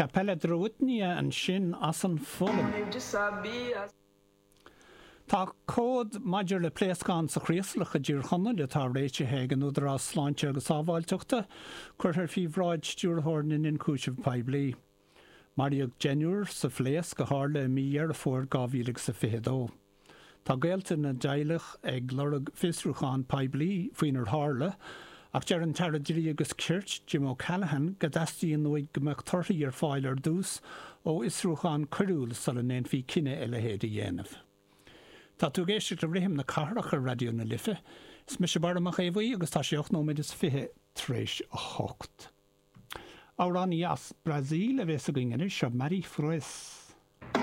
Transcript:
Kapela Drewitnia ansin as an Pholainn. Tá comhad maidir le pléascán sa Chraoslach i dTír Chonaill atá réitithe ag an Údarás Sláinte agus Sábháilteachta curtha faoi bhráid Stiúrthóir na nIonchúiseamh Poiblí. Maraíodh deichniúr sa phléasc a tharla i mí Dheireadh Fómhair 2022. Tá gaolta na dteaghlach ag lorg fiosrúchán poiblí faoinar tharla, ach deir an tAire Dlí agus Cirt, Jim O'Callaghan, go dteastaíonn uaidh go mbeadh torthaí ar fáil ar dtús ó fhiosrúchán coiriúil sula ndéanfaí cinneadh a leithéid a dhéanamh. Tá tú ag éisteacht le Rithim na Cathrach ar Raidió na Life. Is mise Barra Mac Aodha Bhuí agus tá sé 8 nóiméad is 20 tar éis 8. Amhránaí as Brasaíl a bhéas againn anois, seo Mari Froes.